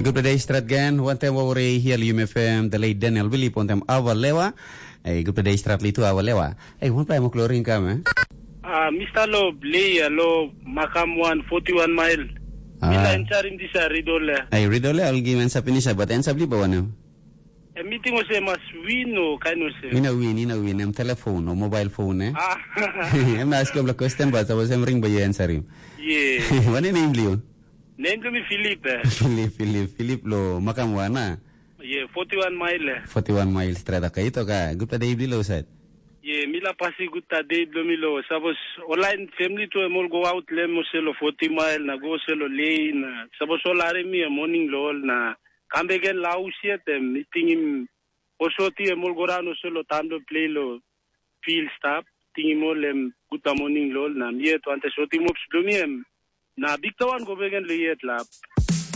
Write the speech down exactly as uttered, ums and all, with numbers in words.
Gutpela dei stret gen, wantem wawari hial Yum F M, the late Daniel Wilip, wantem Awa Lewa. Ei, gutpela dei stret litu Awa Lewa. Ei, wanpela em kloring kam, eh? Ah, Mister Lo, Blei, lo, Makam wan, forty one mile. Ah. Mila ensarim disa ridole. Ei, ridole, al gim ensa pinisa, but ensa blipa wanem? E meeting ose mas win o kain ose. Ina win, ina win, em telephone o mobile phone, eh? Ah. Em na askim la question, but I was em ring by you answer him. Yeah. Wanem name bliu? Name to me Philip, eh? Philip, Philip, Philip lo Makam wan, ah? Yeah, forty one mile, eh? Forty one miles straight, okay. Ito ka, gutpela dei bliu lo sait. Yeah, mila pasi gutpela dei blo mi lo. Sapos online family to em ol go out lem ose lo forty mile na go ose lo lane na. Sapos ol are mi morning lo ol na kam bek gen lo haus yet em mi tingim osoti em ol go daun ose lo tam lo plei lo field stap. Tingim ol em gutpela morning lo ol na mi yet wante sotim ops blo mi em. Na bikpela wan go bek gen lo yet lap.